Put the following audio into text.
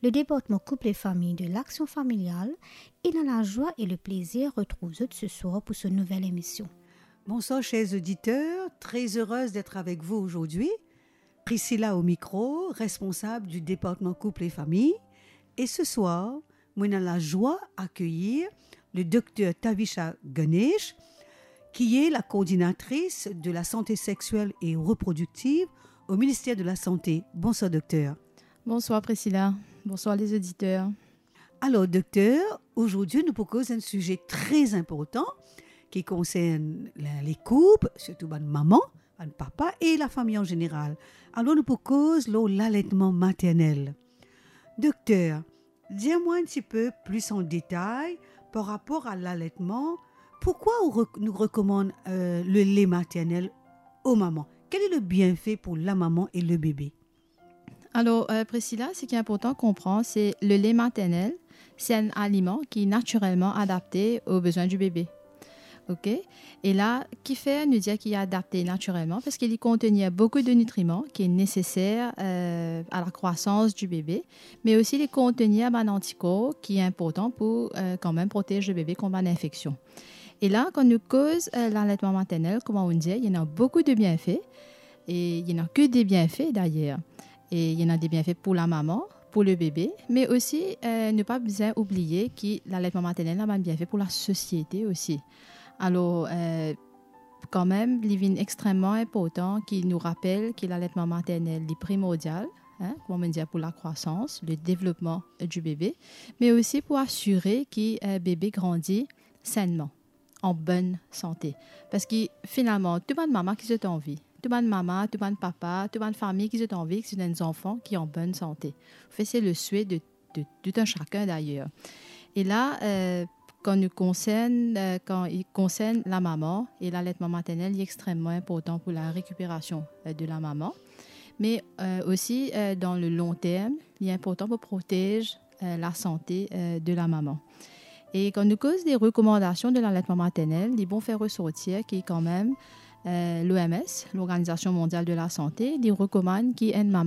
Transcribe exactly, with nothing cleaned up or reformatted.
Le département Couple et Famille de l'Action Familiale, et dans la joie et le plaisir retrouve zot ce soir pour ce nouvel émission. Bonsoir chers auditeurs, très heureuse d'être avec vous aujourd'hui. Priscilla au micro, responsable du département Couple et Famille. Et ce soir, mo ena lazwa akeyir le docteur Tavisha Ganesh, qui est la coordinatrice de la santé sexuelle et reproductive au ministère de la Santé. Bonsoir, docteur. Bonsoir, Priscilla. Bonsoir, les auditeurs. Alors, docteur, aujourd'hui, nou pou koz enn size tre inportan ki konsern le, les couples, sirtou bann mama, bann papa e lafami an zeneral. Alors, nou pou koz lor l'alertement maternel. Docteur, dir mwa enn tipe plis an detay par rapor a l'alertement. Pourquoi on rec-, nous recommande, euh, le lait maternel aux mamans ? Quel est le bienfait pour la maman et le bébé ? Alors, euh, Priscilla, ce qui est important à comprendre, c'est le lait maternel, c'est un aliment qui est naturellement adapté aux besoins du bébé. Ok ? E la, kifer nou dir ki adapte natirelman, parski li kontenir boukou de nitriman ki neseser, euh, à la croissance du bébé, me osi li kontenir bann antikor ki inportan pou, euh, kanmem protez le bébé kont bann infeksion. E la, kan nou koz, euh, l'alertement maternel, kouma nou dir, li ena boukou de bienfe, e li ena ke de bienfe dayer. E li ena de bienfe pou lamama, pou le bebe, me osi, euh, nou pa bizin oubliye ki l'alertement maternel ena bann bienfe pou lasosiete osi. Alor, euh, kanmem, li vinn extremman inportan ki nou rapel ki l'alertement maternel, li primordial, hein, kouma nou dir, pou la croissance, le développement du bébé, me osi pou asire ki, euh, bebe grandi sainement, an bonn sante. Parski finalman, tou bann mama ki zot anvi, tou bann mama, tou bann papa, tou bann fami ki zot anvi ki zot ena enn zanfan ki an bonn sante. Anfet, se le souhait de, de tout un chacun d'ailleurs. E la, euh, kan nou konsern, euh, kan li konsern lamama e l'alertement maternel, li extremman inportan pou la récupération, euh, de lamama. Me, euh, osi, euh, dan le long term, li inportan pou protez, euh, lasante, euh, de lamama. E kan nou koz de rekomandasion de l'alertement maternel, li bon fer resortir ki kanmem, euh, l'O M S, l'Organisation Mondiale de la Santé, li rekomann ki enn mama